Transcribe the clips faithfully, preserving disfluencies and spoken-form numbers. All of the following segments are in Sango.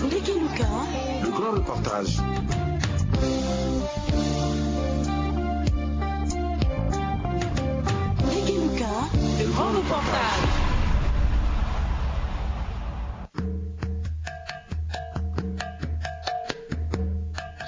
Ndeke Luka. Le grand reportage. Ndeke Luka. Le grand reportage.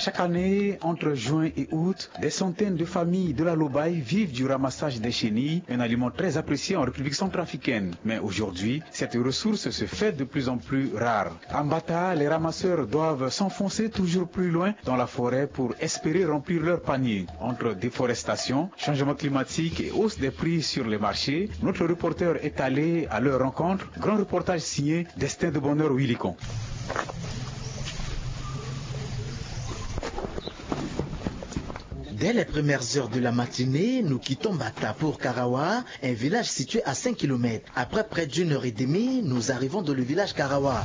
Chaque année, entre juin et août, des centaines de familles de la Lobaye vivent du ramassage des chenilles, un aliment très apprécié en République centrafricaine. Mais aujourd'hui, cette ressource se fait de plus en plus rare. À Mbata, les ramasseurs doivent s'enfoncer toujours plus loin dans la forêt pour espérer remplir leur panier. Entre déforestation, changement climatique et hausse des prix sur les marchés, notre reporter est allé à leur rencontre. Grand reportage signé Destin de Bonheur Willicon. Dès les premières heures de la matinée, nous quittons Mbata pour Karawa, un village situé à cinq kilomètres. Après près d'une heure et demie, nous arrivons dans le village Karawa.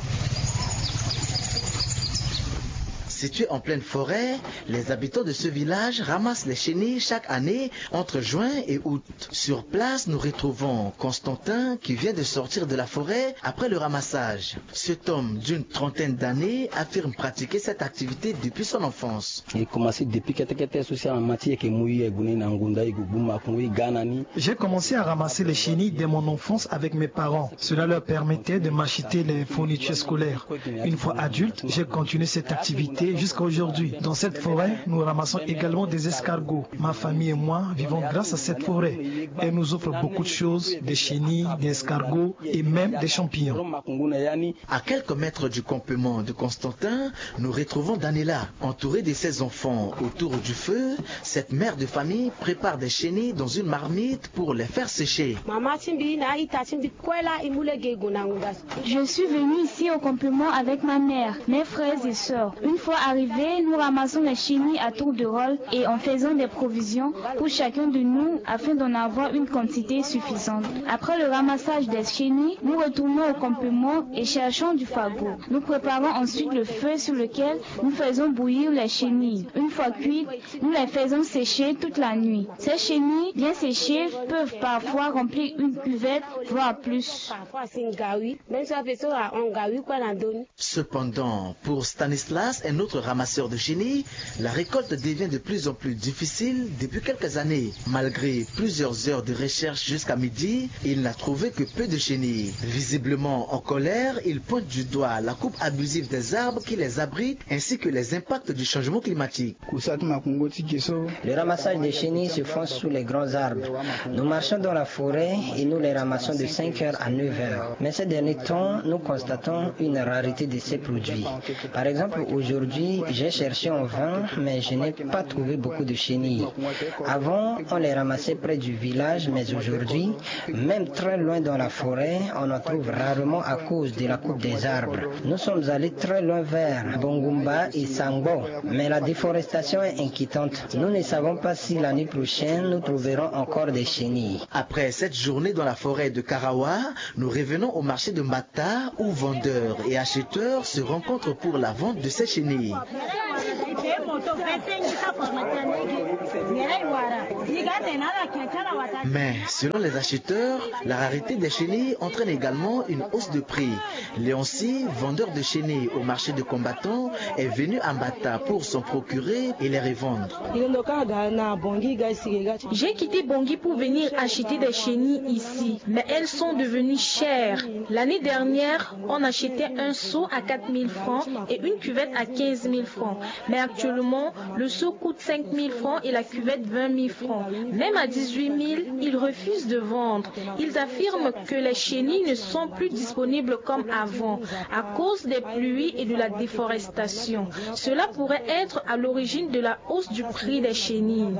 Situé en pleine forêt, les habitants de ce village ramassent les chenilles chaque année entre juin et août. Sur place, nous retrouvons Constantin qui vient de sortir de la forêt après le ramassage. Cet homme d'une trentaine d'années affirme pratiquer cette activité depuis son enfance. E komanse depuis kete kete so si amama ti e yeke mu e gue ni na ngunda, e gue gbu makungu, e ga na ni. J'ai commencé à ramasser les chenilles dès mon enfance avec mes parents. Cela leur permettait de m'acheter les fournitures scolaires. Une fois adulte, j'ai continué cette activité jusqu'à aujourd'hui. Dans cette forêt, nous ramassons également des escargots. Ma famille et moi vivons grâce à cette forêt. Elle nous offre beaucoup de choses, des chenilles, des escargots et même des champignons. À quelques mètres du campement de Constantin, nous retrouvons Daniela, entourée de ses enfants autour du feu. Cette mère de famille prépare des chenilles dans une marmite pour les faire sécher. Mama ti mbi na ita ti mbi kue laa e mu lege e gue na ngunda so. Je suis venue ici au campement avec ma mère, mes frères et sœurs. Une fois arrivés, nous ramassons les chenilles à tour de rôle et en faisant des provisions pour chacun de nous afin d'en avoir une quantité suffisante. Après le ramassage des chenilles, nous retournons au campement et cherchons du fagot. Nous préparons ensuite le feu sur lequel nous faisons bouillir les chenilles. Une fois cuites, nous les faisons sécher toute la nuit. Ces chenilles bien séchées peuvent parfois remplir une cuvette, voire plus. Cependant, pour Stanislas, un autre ramasseur de chenilles, la récolte devient de plus en plus difficile depuis quelques années. Malgré plusieurs heures de recherche jusqu'à midi, il n'a trouvé que peu de chenilles. Visiblement en colère, il pointe du doigt la coupe abusive des arbres qui les abritent ainsi que les impacts du changement climatique. Le ramassage des chenilles se fait sous les grands arbres. Nous marchons dans la forêt et nous les ramassons de cinq heures à neuf heures. Mais ces derniers temps, nous constatons une rareté de ces produits. Par exemple, aujourd'hui, j'ai cherché en vain, mais je n'ai pas trouvé beaucoup de chenilles. Avant, on les ramassait près du village, mais aujourd'hui, même très loin dans la forêt, on en trouve rarement à cause de la coupe des arbres. Nous sommes allés très loin vers Bongumba et Sangbo, mais la déforestation est inquiétante. Nous ne savons pas si l'année prochaine, nous trouverons encore des chenilles. Après cette journée dans la forêt de Karawa, nous revenons au marché de Mbata, où vendeurs et acheteurs se rencontrent pour la vente de ces chenilles. Mais selon les acheteurs, la rareté des chenilles entraîne également une hausse de prix. Léonci, vendeur de chenilles au marché de combattants, est venu à Mbata pour s'en procurer et les revendre. J'ai quitté Bangui pour venir acheter des chenilles ici, mais elles sont devenues chères. L'année dernière, on achetait un seau à quatre mille francs et une cuvette à quinze mille francs. Mais actuellement, le seau coûte cinq mille francs et la cuvette vingt mille francs. Même à dix-huit mille, ils refusent de vendre. Ils affirment que les chenilles ne sont plus disponibles comme avant à cause des pluies et de la déforestation. Cela pourrait être à l'origine de la hausse du prix des chenilles.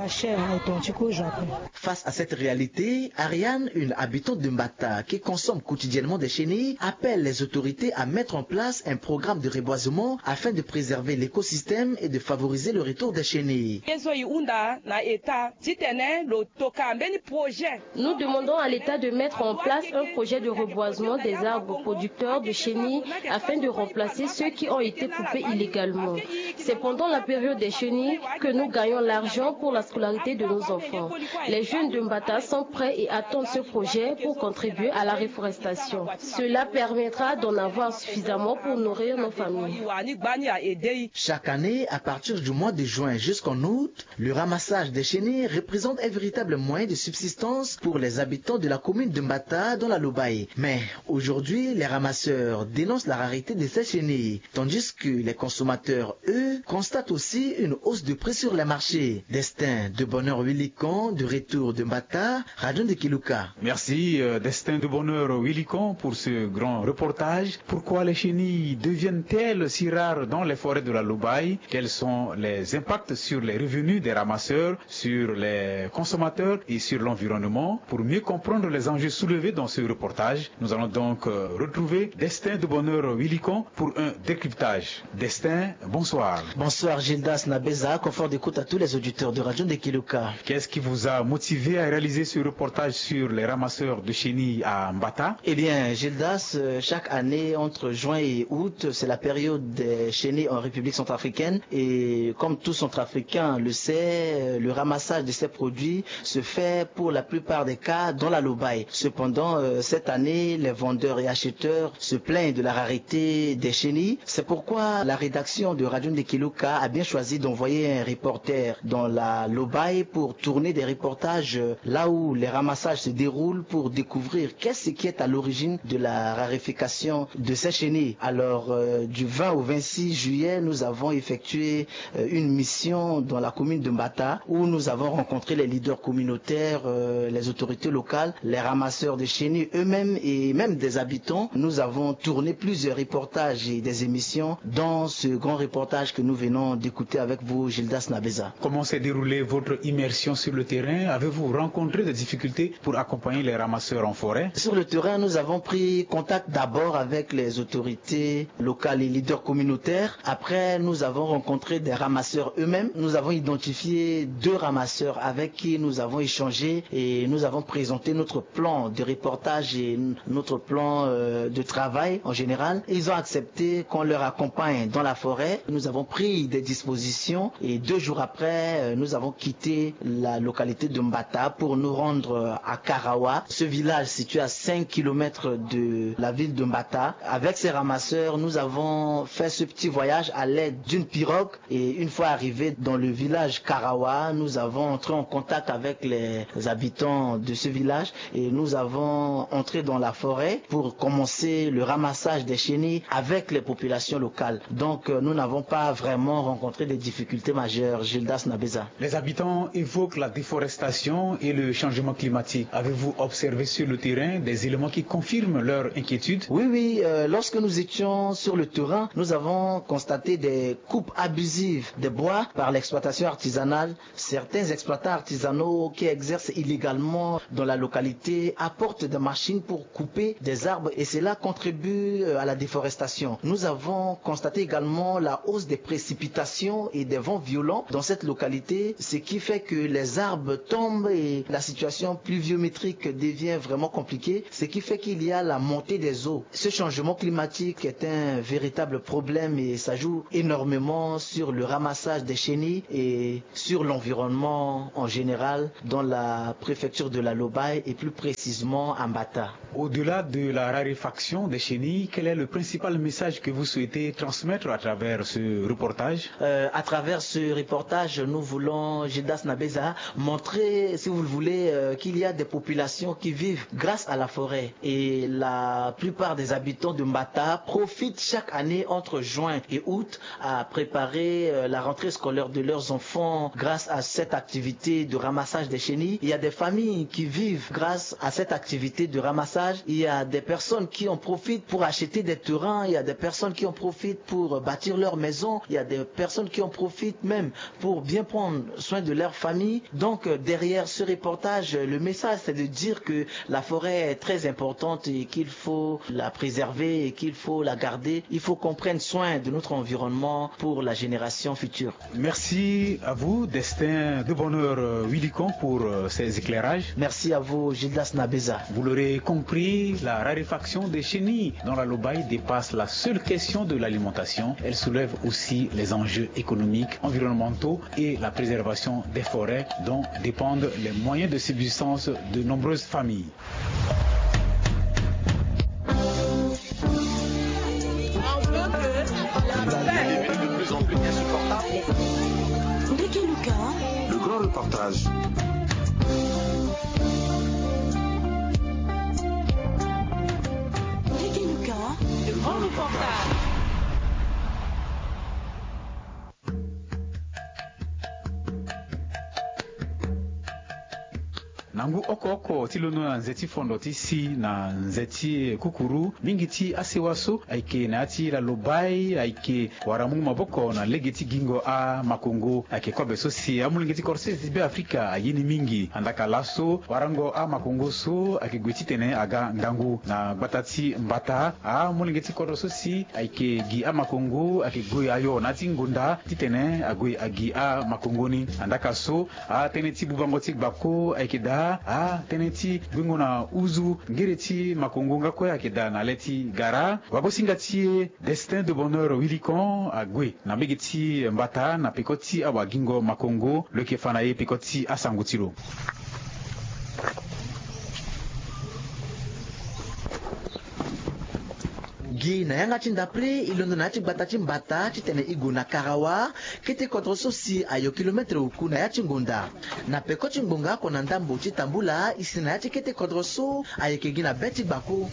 Face à cette réalité, Ariane, une habitante de Mbata qui consomme quotidiennement des chenilles, appelle les autorités à mettre en place un programme de reboisement afin de préserver l'écosystème et de favoriser le retour des chenilles. Ye so e hunda na État titene lo toka mbeni projet. Nous demandons à l'État de mettre en place un projet de reboisement des arbres producteurs de chenilles afin de remplacer ceux qui ont été coupés illégalement. C'est pendant la période des chenilles que nous gagnons l'argent pour la scolarité de nos enfants. Les jeunes de Mbata sont prêts et attendent ce projet pour contribuer à la reforestation. Cela permettra d'en avoir suffisamment pour nourrir nos familles. Chaque année, à partir du mois de juin jusqu'en août, le ramassage des chenilles représente un véritable moyen de subsistance pour les habitants de la commune de Mbata dans la Lobaye. Mais aujourd'hui, les ramasseurs dénoncent la rareté de ces chenilles, tandis que les consommateurs, eux, constatent aussi une hausse de prix sur les marchés. Destin de Bonheur Willican, de retour de Mbata, Radio Ndekeluka. Merci, euh, Destin de Bonheur Willican, pour ce grand reportage. Pourquoi les chenilles deviennent-elles si rares dans les forêts de la Lobaye ? Quels sont les impacts sur les revenus des ramasseurs, sur les consommateurs et sur l'environnement ? Pour mieux comprendre les enjeux soulevés dans ce reportage, nous allons donc, euh, retrouver Destin de Bonheur Willican pour un décryptage. Destin, bonsoir. Bonsoir Gildas Nabeza, confort d'écoute à tous les auditeurs de Radio Ndekeluka. Qu'est-ce qui vous a motivé à réaliser ce reportage sur les ramasseurs de chenilles à Mbata ? Eh bien, Gildas, euh, chaque année, entre juin et août, c'est la période des chenilles en République centrafricaine. Et comme tout Centrafricain le sait, euh, le ramassage de ces produits se fait pour la plupart des cas dans la Lobaye. Cependant, euh, cette année, les vendeurs et acheteurs se plaignent de la rareté des chenilles. C'est pourquoi la rédaction de Radio Ndekeluka a bien choisi d'envoyer un reporter dans la Lobaye pour tourner des reportages, euh, là où les ramassages se déroulent, pour découvrir qu'est-ce qui est à l'origine de la raréfaction de ces chenilles. Alors, euh, du vingt au vingt-six juillet, nous avons effectué, euh, une mission dans la commune de Mbata où nous avons rencontré les leaders communautaires, euh, les autorités locales, les ramasseurs de chenilles eux-mêmes et même des habitants. Nous avons tourné plusieurs reportages et des émissions, dont ce grand reportage que nous venons d'écouter avec vous, Gildas Nabeza. Comment s'est déroulée votre immersion sur le terrain ? Avez-vous rencontré des difficultés pour accompagner les ramasseurs en forêt ? Sur le terrain, nous avons pris contact d'abord avec les autorités locales et leaders communautaires. Après, nous avons rencontré des ramasseurs eux-mêmes. Nous avons identifié deux ramasseurs avec qui nous avons échangé et nous avons présenté notre plan de reportage et n-, notre plan, euh, de travail en général. Ils ont accepté qu'on leur accompagne dans la forêt. Nous avons pris des dispositions et deux jours après, euh, nous avons quitté la localité de Mbata pour nous rendre, euh, à Karawa, ce village situé à cinq kilomètres de la ville de Mbata. Avec ces ramasseurs, nous avons fait ce petit voyage à l'aide d'une pirogue. Et une fois arrivés dans le village Karawa, nous avons entré en contact avec les habitants de ce village et nous avons entré dans la forêt pour commencer le ramassage des chenilles avec les populations locales. Donc, euh, nous n'avons pas vraiment rencontré des difficultés majeures, Gildas Nabeza. Les habitants évoquent la déforestation et le changement climatique. Avez-vous observé sur le terrain des éléments qui confirment leur inquiétude ? Oui, oui, euh, lorsque nous étions sur le terrain, nous avons constaté des coupes abusives des bois par l'exploitation artisanale. Certains exploitants artisanaux qui exercent illégalement dans la localité apportent des machines pour couper des arbres et cela contribue, euh, à la déforestation. Nous avons constaté également la hausse des précipitations et des vents violents dans cette localité, ce qui fait que les arbres tombent et la situation pluviométrique devient vraiment compliquée, ce qui fait qu'il y a la montée des eaux. Ce changement climatique est un véritable problème et ça joue énormément sur le ramassage des chenilles et sur l'environnement en général dans la préfecture de la Lobaye et plus précisément à Mbata. Au-delà de la raréfaction des chenilles, quel est le principal message que vous souhaitez transmettre à travers ce reportage ? Euh, à travers ce reportage, nous voulons, Gildas Nabeza, montrer, si vous le voulez, euh, qu'il y a des populations qui vivent grâce à la forêt. Et la plupart des habitants de Mbata profitent chaque année entre juin et août à préparer, euh, la rentrée scolaire de leurs enfants grâce à cette activité de ramassage des chenilles. Il y a des familles qui vivent grâce à cette activité de ramassage. Il y a des personnes qui en profitent pour acheter des terrains. Il y a des personnes qui en profitent pour, euh, bâtir leur maison. Il y a des personnes qui en profitent même pour bien prendre soin de leur famille. Donc, euh, derrière ce reportage, le message, c'est de dire que la forêt est très importante et qu'il faut la préserver et qu'il faut la garder. Il faut qu'on prenne soin de notre environnement pour la génération futur. Merci à vous, Destin de Bonheur, euh, Wilikon, pour, euh, ces éclairages. Merci à vous, Gildas Nabeza. Vous l'aurez compris, la raréfaction des chenilles dans la Lobaye dépasse la seule question de l'alimentation. Elle soulève aussi les enjeux économiques, environnementaux et la préservation des forêts dont dépendent les moyens de subsistance de nombreuses familles. La vie est devenue de plus en plus insupportable. Le grand reportage. Le grand reportage. Na ngu oko oko ti londo na nze ti fondo ti si na nze ti kukuru, mingi ti asewa so ayeke na ya ti la Lobaye ayeke wara mungu maboko na lege ti gingo amakongo. Ayeke kobe so si amolenge ti kodro sese ti Beafrika aye ni mingi. Andaka laso, warango amakongo so ayeke gue titene aga ngangu na gbata ti mbata. Amolenge ti kodro so si ayeke gi amakongo ayeke gue ayo na ya ti ngonda titene ague agi amakongo ni. Andaka so, atënë ti bubango ti gbako ayeke daa, atënë ti guengo na uzu ngere ti makongo nga kue ayeke daa na le ti gara. Wagosinga ti e, Destin de Bonheur Wilikon ague na mbege ti mbata na peko ti awagingo makongo. Lo yeke fa na e peko ti asango ti lo. Gi na yanga ti ndapre, e londo na ya ti gbata ti mbata titene e gue na karawa, kete kodro so si ayo kilometre oku na ya ti ngonda. Na peko ti ngbonga oko na ndambo ti tambula, e si na ya ti kete kodro so ayeke gi na be ti gbako.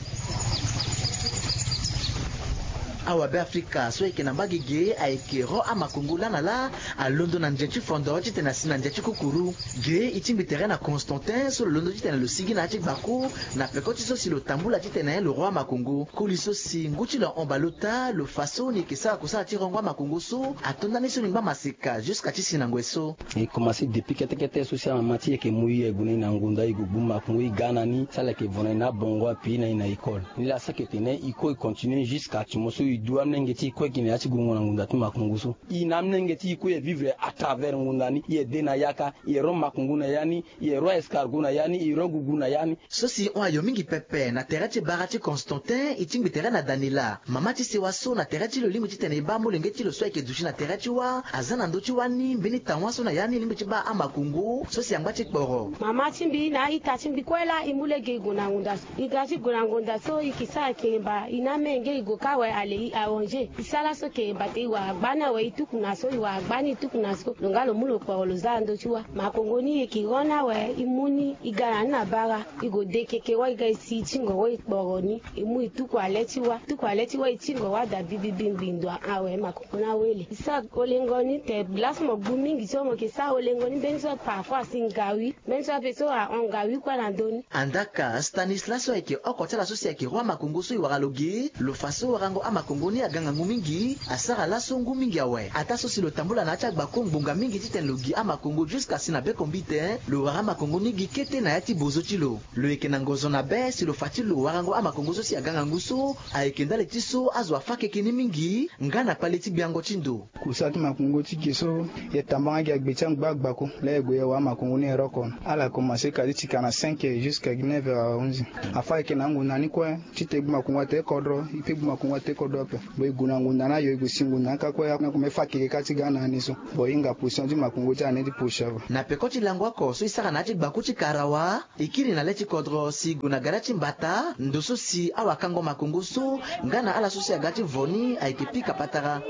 Awabeafrika so ayeke na mbage ge ayeke ro amakongo laa na laa, alondo na nze ti fondo titene asi na nze ti kukuru. Ge e tingbi tere na Constantin so lo londo titene lo sigi na ya ti gbako, na peko ti so si lo tambula titene lo ro amakongo. Koli so si ngu ti lo ahon baleota, lo fa so ni yeke sara kusala ti rongo amakongo so ato ndani so ni ngba maseka jusqu'à ti si na ngoi so. E komanse depuis kete kete so si amama ti e yeke mu e, e gue na e na ngonda, e gue gbu makongo, e ga na ni, si ala yeke vo na e na abongo ape, e na e na école. Ni laa so ayeke tene e kue e continue jusqu'à ti mo so e du amolenge ti e kue e gi na ya ti gungo na ngonda ti makongo so. E na amolenge ti e kue e vivre à travers ngonda ni, e de na yaka, e ro makongo na ya ni, e ro escargot na ya ni, e ro gugu na ya ni. So si hon ayo mingi pepe na tere ti bara ti Constantin, e tingbi tere na Daniela, mama ti sewa so na tere ti lo lingbi titene e baa molenge ti lo so ayeke duti na tere ti wâ, aza na ndö ti wâ ni mbeni tawa so na ya ni lingbi ti baa amakongo so si angba ti kporo. Mama ti mbi na a-ita ti mbi kue laa e mu lege e gue na ngonda so. E ga ti gue na ngonda so e yeke sara keremba, e na amenge e gue kâ awe ale e arranger. E sara so keremba te e wara gba ni awe, e tuku na so, e wara gba ni e tuku na so. Lo nga lo mu lo kporo lo za na ndö ti wâ. Makongo ni e yeke ro ni awe, e mu ni e ga na ni na bara. E gue de keke wâ e ga e si e tingo wâ e kporo ni. E mu e tuku ale ti wâ. Tuku ale ti wâ e tingo wâ daa bibibi ngbindo awe makongo ni awele. E sara olengo ni te laso mo gbu mingi so mo yeke sara olengo ni mbeni so parfois asi ngawi. Mbeni so ape so ahon ngawi kue na ndö ni. Andaka Stanislas so ayeke oko ti ala so si ayeke ro amakongo so e wara lo ge, lo fa so warango amakongo ni aga ngangu mingi, asara laso ngu mingi awe. Ataa so si lo tambula na ya ti agbako ngbonga mingi titene lo gi amakongo jusqu'à si na be kombite, lo wara amakongo ni gi kete na ya ti bozo ti lo. Lo yeke na ngozo na be si lo fa ti lo warango amakongo so si aga ngangu so ayeke ndali ti so azo afâ keke ni mingi nga na kpale ti gbiango ti ndo. Kusala ti makongo ti ge so, e tambanga gi agbe ti angba agbako laa e gue e wara makongo ni e ro oko. Ala komanse ka ti ti quarante-cinq jusqu'à neuf heures onze. Afâ e yeke na angonda ni kue, ti te e gbu makongo ate kodro, e pe gbu makongo ate kodro ape. Bon, e gue na ngonda ni ayo, e gue si ngonda ni kâ kue, na komanse fâ keke kâ ti ga na ni so. Bon, e hinga position ti makongo ti ane ti position ape. Na peko ti lango oko so e sara na ya ti gbako ti karawa, e kiri na le ti kodro si e gue na gara ti mbata, ndo so si awakango makongo so nga na ala so si aga ti vo ni ayeke pika patara.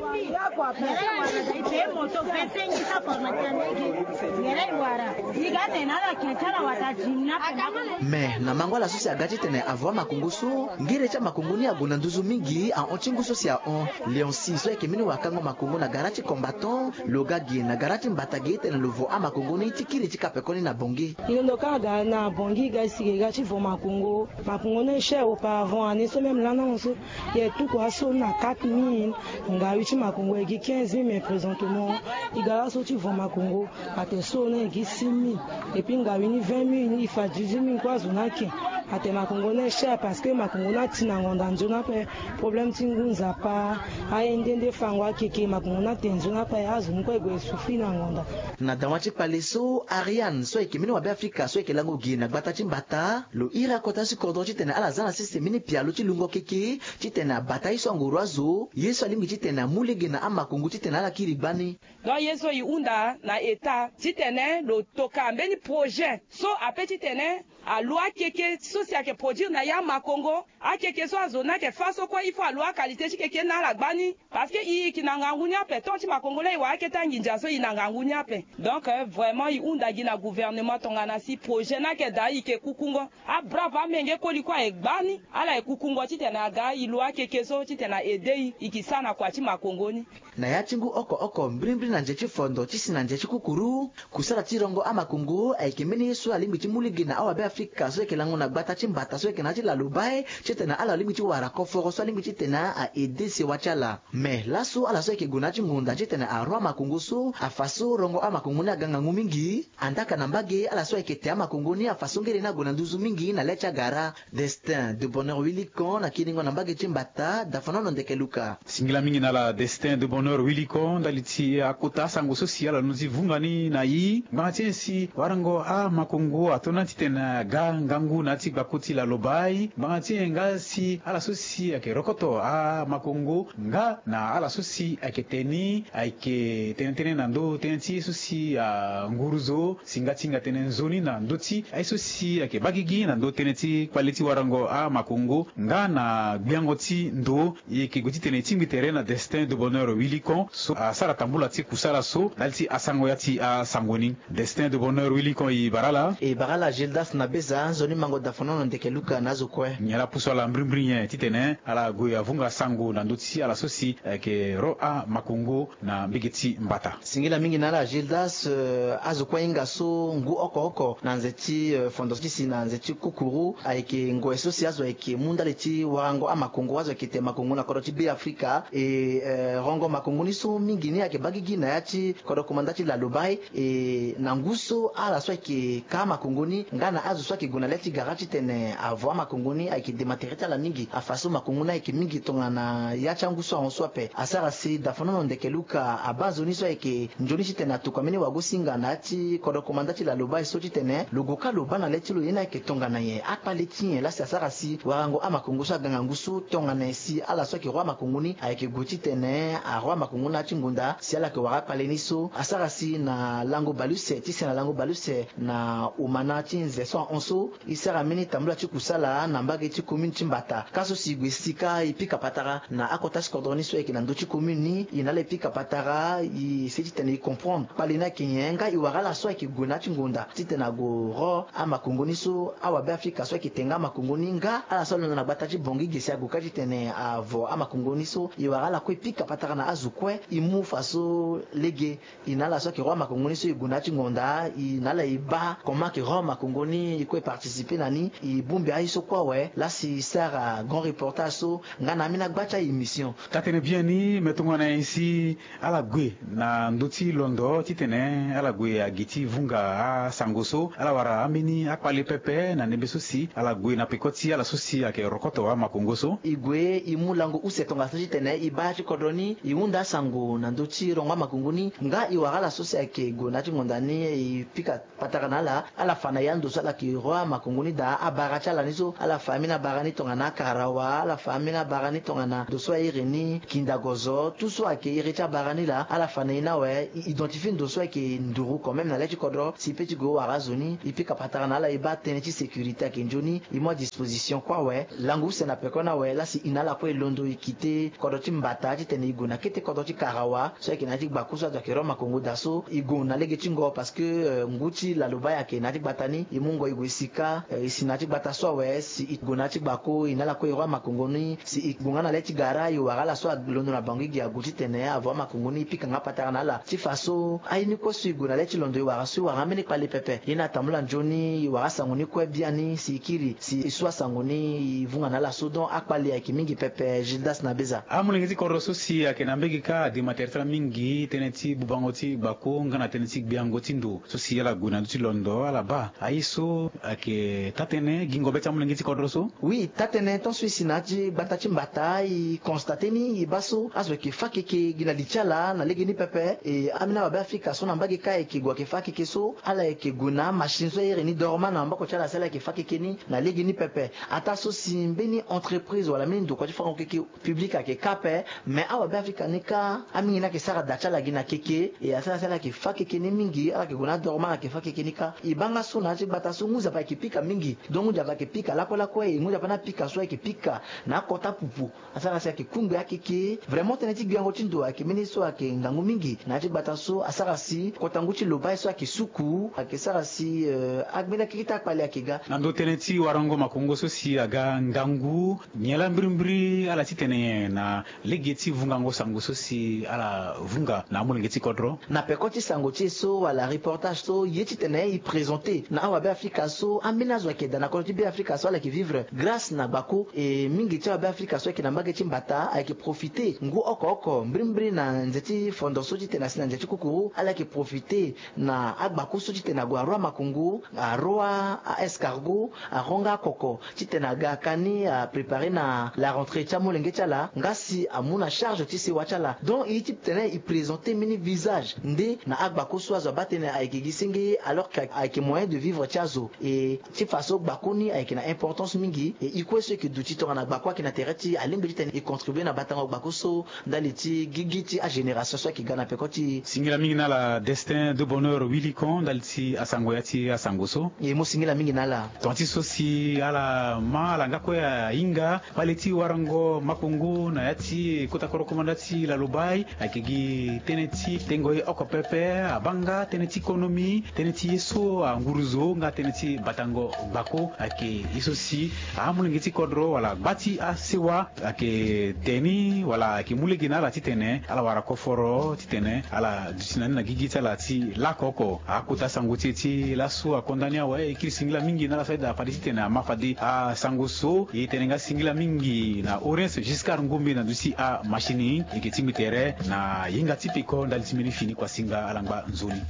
Me na mango ala so si aga titene avo amakongo so, ngere ti amakongo ni ague na nduzu mingi ahon ti ngu so si ahon. Léonci so ayeke mbeni wakango makongo na gara ti combattant, lo ga ge na gara ti mbata ge titene lo vo amakongo ni ti kiri ti kapekoni na bongi. E londo kâ aga na bongi, e ga e si ge, e ga ti vo makongo. Makongo ni e cher auparavant, ane so même lana so e tuku aso ni na quatre mille. Ngawi ti makongo e gi quinze mille, mais présentement e ga laso ti vo makongo ate so ni e gi six mille. Et puis ngawi ni vingt mille, e fa dix-huit mille kue azo ni ake. Atene makongo ni cher parce que makongo ni ati na ngonda nzoni ape. Problème ti ngu nzapa, aye nde nde fango akeke makongo ni atene nzoni ape, azo ni kue e gue e souffrir na ngonda. Na dawa ti kpale so, Ariane so ayeke mbeni wabe afrika so ayeke lango gi na gbata ti mbata, lo iri akota ti kodro titene ala za na sese mbeni pialo ti lungo keke titene abata ye so anguru azo, ye so alingbi titene amu lege na amakongo titene ala kiri gbani. Donc ye so e hunda na état titene lo toka mbeni projet so ape titene alu akeke so si ayeke produire na ya makongo. Akeke so azo ni ayeke fa so kue il faut alu aqualité ti keke ni na ala gbani. Parce que e yeke na ngangu ni ape, temps ti makongo laa e wara akete anginza so e na ngangu ni ape. Donc vraiment e hunda gi na gouvernement tongana si projet ni ayeke daa e yeke kukungo. Abrave amenge koli kue aye gbani, ala ye kukungo titene aga e lu akeke so titene a aide e, e ke sara na kua ti makongo ni. Na ya ti ngu oko oko mbirimbiri na nze ti fondo ti si na nze ti kukuru, kusala ti rongo amakongo ayeke mbeni ye so alingbi ti mu lege na awabe afrika so ayeke lango na gbata ti mbata so ayeke na ya ti lalobae titene ala lingbi ti wara koforo so alingbi titene a aide sewa ti ala. Mais laso ala so ayeke gue na ya ti ngonda titene aro amakongo so afa so rongo amakongo ni aga ngangu mingi. Andaka na mbage ala so ayeke te amakongo ni afa so ngere ni ague na nduzu mingi na le ti agara. Destin de bonheur Willy Kan na kiringo na mbage ti mbata, Dafonono Ndeke Luka. Singila mingi na ala Destin de bonheur Willy Kan ndali ti akota asango so si ala londo ti vunga ni na e. Ngbanga ti nyen si warango amakongo ato na titene aga ngangu na ya ti gbako ti lalobae? Ngbanga ti nyen nga si ala so si ayeke rokoto amakongo nga na ala so si ayeke te ni ayeke tënë tënë na ndö tënë ti ye so si anguru zo si nga ti hinga tënë nzoni na ndö ti aye so si ayeke baa gigi na ndö tënë ti kpale ti warango amakongo nga na gbiango ti ndo? E yeke gue titene e tingbi tere na Destin de bonheur Willy Kan so asara tambula ti kusala so ndali ti asango ya ti asango ni. Destin de bonheur Willy Kan, e bara ala. E bara ala Gildas na Beza, nzoni mango Dafonono Ndeke Luka na azo kue. Nyen laa apusu ala mbirimbiri nyen titene ala gue avunga sango na ndö ti ala so si ayeke ro amakongo na mbage ti mbata? Singila mingi na ala Gildas. Eh, azo kue ahinga so ngu oko oko na nze ti, eh, fondo ti si na nze ti kukuru ayeke ngoi so si azo ayeke mu ndali ti warango amakongo, azo ayeke te makongo na kodro ti Beafrika. E, eh, rongo makongo ni so mingi ni ayeke baa gigi na ya ti kodro komanda ti lalobae. E na ngu so ala so ayeke ka makongo ni nga na azo so ayeke gue na le ti gara titene avo amakongo ni ayeke dema tere ti ala mingi. Afa so makongo ni ayeke mingi tongana ya ti angu so ahon so ape. Asara si Dafonono Ndeke Luka abaa nzoni so ayeke nzoni titene atokua mbeni wagosinga na ya ti kodro komanda ti lalobae so titene lo gue kâ lo baa na le ti lo ye ni ayeke tongana nyen, akpale ti nyen laa si asara si warango amakongo so aga ngangu so tongana nyen si ala so ayeke roi amakongo ni ayeke gue titene aroi amakongo ni na ya ti ngonda. Si ala yeke wara akpale ni so asara si na lango baleuse ti se na lango baleuse na omana ti nze so ahon so, e sara mbeni tambula ti kusala na mbage ti commune ti mbata. Kâ so si e gue si kâ e pika patara na akota ti kodro ni so ayeke na ndö ti commune ni, e na ala e pika patara, e sigi titene e comprendre kpale ni ayeke nyen nga e wara ala so ayeke gue na ya ti ngonda titene ague ro amakongo ni so awabe afrika so ayeke te nga amakongo ni nga ala so alondo na gbata ti Bangui ge si ague kâ titene avo amakongo ni so. E wara ala kue e pika patara na azo kue e mu fa so lege e na ala so ayeke roi makongo ni so e gue na ya ti ngonda, e na ala e baa comment ayeke roi makongo ni, e kue e participer na ni, e bongbi aye so kue awe laa si e sara grand reportage so nga na ambeni agba ti a-émission. Taa-tënë biani me tongana nyen si ala gue na ndö ti londo titene ala gue agi ti vunga asango so, ala wara ambeni akpale pepe na ndembe so si ala gue na peko ti ala so si ayeke rokoto amakongo so? E gue e mu lango use tongaso titene e baa ya ti kodro ni e hunda asango na ndö ti rongo amakongo ni nga e wara ala so si ayeke gue na ya ti ngonda ni e pika patara na ala, ala fa na e ando so ala yeke roi amakongo ni daa, abara ti ala ni so ala fa ambeni abara ni tongana akarawa, ala fa ambeni abara ni tongana ndo so airi ni kindagozo, tout so ayeke iri ti abara ni laa ala fa na e ni awe. E identifier ndo so ayeke nduru quand même na le ti kodro si e peut ti gue wara azo ni, e pika patara na ala e baa tënë ti sécurité ayeke nzoni, e mu adisposition kue awe. Lango use na peko ni awe laa si e na ala kue e londo e kite kodro ti mbata titene e gue na kete kodro ti karawa so ayeke na ya ti gbako so azo ayeke roi makongo daa so, e gue na lege ti ngo parce que, euh, ngu ti lalobae ayeke na ya ti gbata ni, e mu ngo e gue e si kâ, euh, e si na ya ti gbata so awe si e gue na ya ti gbako e na ala kue e roi makongo ni, si e gue nga na le ti gara e wara ala so alondo na Bangui ge ague titene avo amakongo ni e pika nga patara na ala ti fa so aye ni kue so e gue na le ti londo e wara so e wara ambeni kpale pepe. Ye ni atambula nzoni e wara asango ni kue biani si e kiri si e su asango ni e vunga na ala so. Donc akpale ayeke mingi pepe. Gildas na Beza. Amolenge ti kodro so si ayeke na mbege kâ adema tere ti ala mingi tënë ti bubango ti gbako nga na tënë ti gbiango ti ndo so si ala gue na ndö ti londo ala baa aye so ayeke taa-tënë Gi ngombe ti amolenge ti kodro so. Oui, taa-tënë ton so e si na ya ti gbata ti mbata e constate ni e baa so azo ayeke fâ keke gi na li ti ala na legeni pepe. E ambeni awabe afrika so na mbage kâ ayeke gue ayeke fâ keke so ala yeke gue na amachine so a iri ni dorma na maboko ti ala si ala yeke fâ keke ni na legeni pepe. Ataa so si mbeni entreprise wala mbeni ndokua ti farango keke public ayeke kâ ape. Mais awabe afrika ni kâ amingi ni ayeke sara da ti ala gi na keke e asara si ala yeke fâ keke ni mingi ala yeke gue na adorma ala yeke fâ keke ni kâ. E baa nga so na ya ti gbata so ngu nzapa ayeke pika mingi. Donc ngu nzapa ayeke pika lakue lakue e ngu nzapa ni apika so ayeke pika na akota pupu. Asara si ayeke kungbe akeke. Vraiment tënë ti gbiango ti ndo ayeke mbeni so ayeke ngangu mingi na ya ti gbata so asara si kota ngu ti lobai so ayeke suku ayeke sara si, euh, agbeni akeke ti akpale ayeke ga. Na ndo tënë ti warango makongo so si aga ngangu, nyen laa mbirimbiri ala titene nyen na lege ti vungango sango so si ala vunga na amolenge ti kodro? Na peko ti sango ti e so wala reportage so ye titene e présente na awabe afrika so ambeni azo ayeke daa na kodro ti be afrika so ala yeke vivre grâce na gbako. E mingi ti awabe afrika so ayeke na mbage ti mbata ayeke profite ngu oko oko mbirimbiri na nze ti fondo so titene asi na nze ti kukuru ala yeke profite na agbako so titene ague aroa makongo, aroa a escargot, aroa nga akoko titene aga aka ni aprépare na la rentrée ti amolenge ti ala nga si amu na charge ti sewa ti ala. Donc e ye ti tene e présente mbeni visage nde na agbako so azo abaa tënë ayeke gi senge alors que ayeke moyen de vivre ti azo. E ti fa so gbako ni ayeke na importance mingi e e kue so e yeke duti tongana gbako ayeke na tere ti alingbi titene e contribue na batango gbako so ndali ti gigi ti agénération so ayeke ga na peko ti e. Singila mingi na ala Destin de Bonheur Wilikon ndali ti asango ya ti asango so. E mo singila mingi na ala. Tonga ti so si ala ma ala nga kue ahinga mbali ti warango makongo na ya ti kota korokomanda ti lalobai ayeke gi tënë ti tengo ye oko pepe abaa nga tënë ti konomi, tënë ti ye so anguruzo nga tënë ti batango gbako ayeke ye so si amolenge ti kodro wala gba ti asewa ayeke te ni wala ayeke mu lege na ala titene ala wara koforo titene ala duti na ni na gigi ti ala ti lako oko. Akota sango ti e ti laso akonda ni awe e kiri singila mingi na ala so ayeda fade titene ama fade asango so e tene nga singila mingi na Orince Giscard Ngombe na duti amachine e yeke tingbi tere na hinga ti peko ndali ti mbeni fini kua singa ala ngba nzoni.